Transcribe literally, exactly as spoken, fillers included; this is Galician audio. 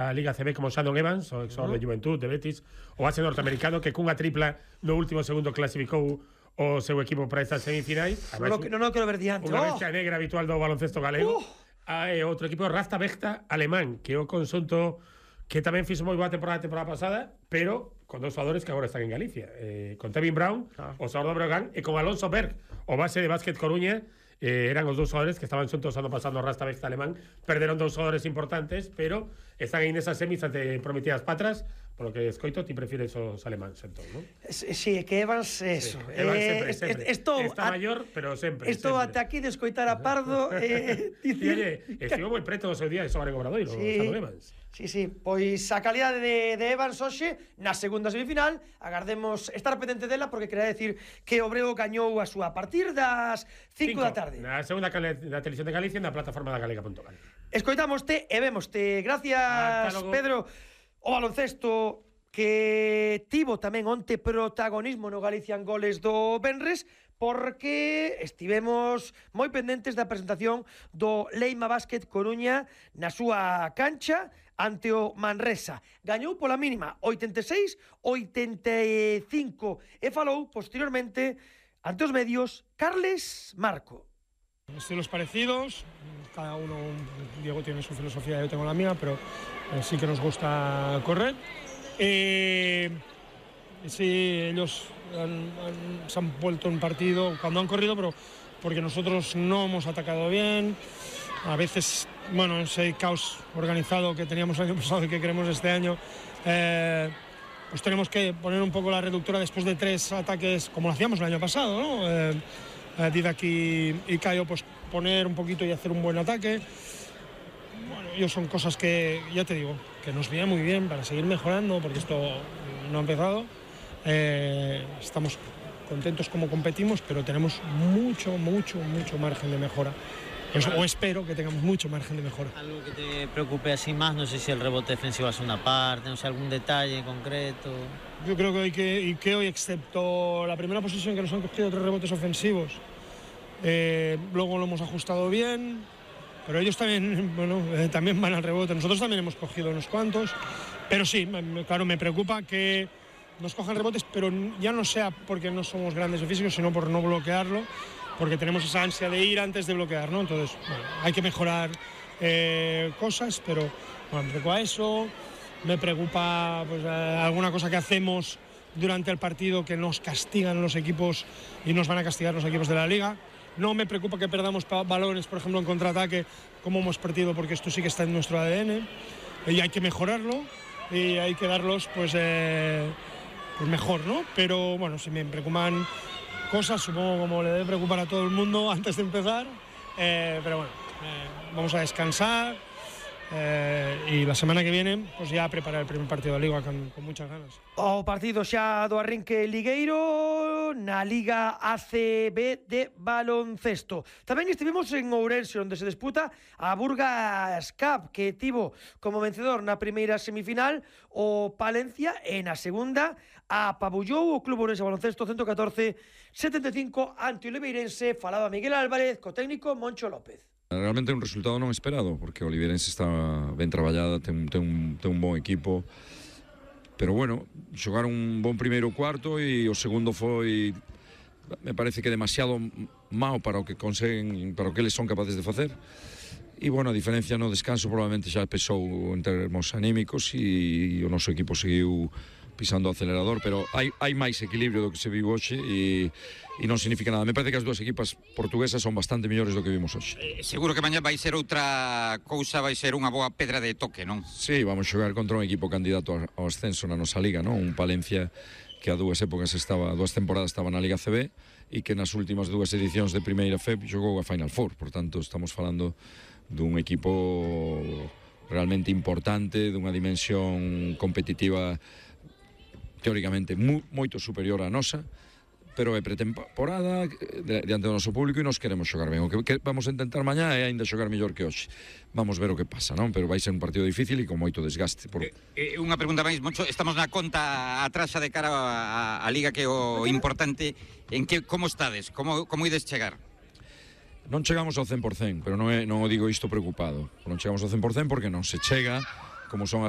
a Liga C B como Shannon Evans, o exor uh-huh. de Juventud, de Betis, o base norteamericano que cunha tripla no último segundo clasificou o seu equipo para estas semifinais. Non, non, non quero ver diante. Unha bestia oh. negra habitual do baloncesto galego. Uh. Ah, e outro equipo, Rasta Bechta, alemán, que é o conxunto que tamén fixo moi boa temporada a temporada pasada, pero con dos xogadores que agora están en Galicia. Eh, con Tevin Brown, ah. o xogador do Breogán, e con Alonso Berg, o base de Básquet Coruña. Eh, eran os dous xogadores que estaban xuntos ano pasado no Rasta Bechta alemán. Perderon dous xogadores importantes, pero están aí nesas semis ante prometidas patras. Polo que escoito, ti prefires os alemáns, entón, non? Si, que Evans, eso. Sí, Evans sempre, eh, sempre. Esto, Está a, maior, pero sempre. Estou ata aquí de escoitar a Pardo. eh, dicir... Oye, estivo moi preto do seu día de xogar en Obradoiro, sí, o Evans. Sí, sí, pois a calidade de, de Evans hoxe na segunda semifinal, agardemos estar pendente dela porque quería decir que o Breo gañou a súa a partir das cinco da tarde. Na segunda da televisión de Galicia na plataforma da galega punto gal. Escoitámoste e vémoste. Gracias, Pedro. O baloncesto que tivo tamén onte protagonismo no Galician Goles do Benres, porque estivemos moi pendentes da presentación do Leima Básquet Coruña na súa cancha ante o Manresa. Gañou pola mínima oitenta e seis a oitenta e cinco e falou posteriormente ante os medios Carles Marco. Estilos parecidos, cada uno, Diego tiene su filosofía, yo tengo la mía, pero eh, sí que nos gusta correr. Eh, sí, ellos han, han, se han vuelto un partido cuando han corrido, pero porque nosotros no hemos atacado bien. A veces, bueno, ese caos organizado que teníamos el año pasado y que queremos este año, eh, pues tenemos que poner un poco la reductora después de tres ataques, como lo hacíamos el año pasado, ¿no? Eh, Didac y, y Caio, pues poner un poquito y hacer un buen ataque. Bueno, ellos son cosas que, ya te digo, que nos viene muy bien para seguir mejorando, porque esto no ha empezado. Eh, estamos contentos como competimos, pero tenemos mucho, mucho, mucho margen de mejora. Pues, o espero que tengamos mucho margen de mejora. Algo que te preocupe así más, no sé si el rebote defensivo es una parte, no sé, algún detalle en concreto. Yo creo que hoy, que, y que hoy excepto la primera posición que nos han cogido tres rebotes ofensivos, eh, luego lo hemos ajustado bien, pero ellos también, bueno, eh, también van al rebote. Nosotros también hemos cogido unos cuantos, pero sí, me, claro, me preocupa que nos cojan rebotes, pero ya no sea porque no somos grandes de físico, sino por no bloquearlo, porque tenemos esa ansia de ir antes de bloquear, ¿no? Entonces, bueno, hay que mejorar eh, cosas, pero bueno, me preocupa eso, me preocupa pues, eh, alguna cosa que hacemos durante el partido que nos castigan los equipos y nos van a castigar los equipos de la Liga. No me preocupa que perdamos balones, por ejemplo, en contraataque, como hemos perdido, porque esto sí que está en nuestro A D N, y hay que mejorarlo, y hay que darlos pues, eh, pues mejor, ¿no? Pero bueno, si me preocupan cosas, supongo como le debe preocupar a todo el mundo antes de empezar, eh, pero bueno, eh, vamos a descansar eh, y la semana que viene pues ya preparar el primer partido de Liga con, con muchas ganas. O partido xa do arrinque ligueiro na Liga A C B de baloncesto. Tamén estivemos en Ourense, onde se disputa a Burgas Cup, que tivo como vencedor na primeira semifinal o Palencia, e na segunda apabullou o Club Ourense Baloncesto ciento catorce a setenta e cinco ante o Oliveirense. Falaba Miguel Álvarez co técnico Moncho López. Realmente un resultado non esperado, porque o Oliveirense está ben traballada, ten, ten, un, ten un bon equipo, pero bueno, xogaron un bon primeiro cuarto e o segundo foi, me parece que demasiado mau para o que conseguen, para o que eles son capaces de facer. E bueno, a diferencia no descanso probablemente xa pesou en termos anímicos e o noso equipo seguiu pisando o acelerador, pero hai, hai máis equilibrio do que se viu hoxe e, e non significa nada. Me parece que as dúas equipas portuguesas son bastante mellores do que vimos hoxe. Eh, seguro que mañá vai ser outra cousa, vai ser unha boa pedra de toque, non? Sí, vamos xogar contra un equipo candidato ao ascenso na nosa liga, non? Un Palencia que a dúas épocas estaba, dúas temporadas estaba na Liga C B e que nas últimas dúas edicións de Primeira F E P xogou a Final Four, por tanto estamos falando dun equipo realmente importante, dunha dimensión competitiva teóricamente mu, moito superior á nosa, pero é pretemporada diante do noso público e nos queremos xogar ben. O que, que vamos a intentar mañá é ainda xogar mellor que hoxe. Vamos ver o que pasa, non? Pero vai ser un partido difícil e con moito desgaste. Por... Eh, eh, unha pregunta máis, Moncho, estamos na conta atrasa de cara a, a Liga, que é o importante. En que, como estades? Como, como ides chegar? Non chegamos ao cen por cen, pero non, é, non o digo isto preocupado. Non chegamos ao cen por cen porque non se chega, como son as